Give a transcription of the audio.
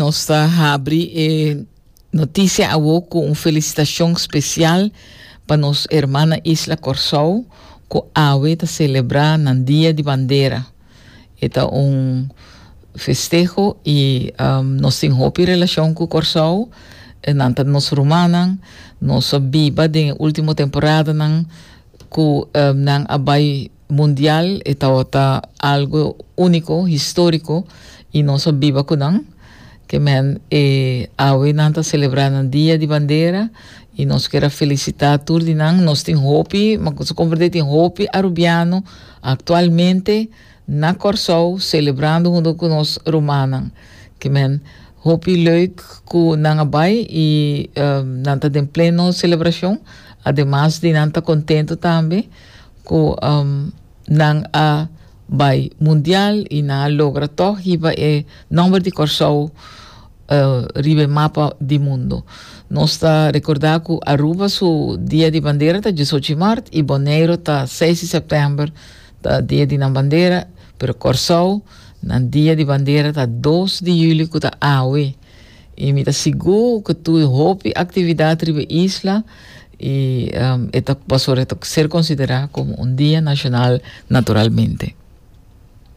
Nos ta habri e noticia awo cu un felicitacion special pa nos hermana isla Corsou cu awe ta celebra nan dia di bandera. E ta un festeho y nos tin hopi relacion cu Corsou. Nan ta nos rumannan. Nos a biba den e ultimo temporadanan cu nan a bay Mundial e tabata algo unico, historico y nos a biba cu nan. Ke men e awe nan ta celebra nan dia di bandera y nos kier a felicita tur di nan. Nos tin hopi, ma cu comprende tin hopi Arubiano actualmente na Corsou celebrando hunto cu nos rumannan. Ke men hopi leuk cu nan a bay y nan ta den pleno celebracion. Ademas di nan ta contento tambe. Ku nan a bai mundial i nan a logra tòg hiba e nòmber di Kòrsou riba e mapa di mundo. Nos ta rekordá ku Aruba su dia di bandera ta diesocho di mart i Boneiru ta seis di sèptèmber ta dia di nan bandera, pero Kòrsou nan dia di bandera ta dos di yüli ku ta awe. I mi ta sigur ku tur hopi aktividat riba e isla i e ta pasobra e ta ser konsiderá komo un dia nashonal naturalmente.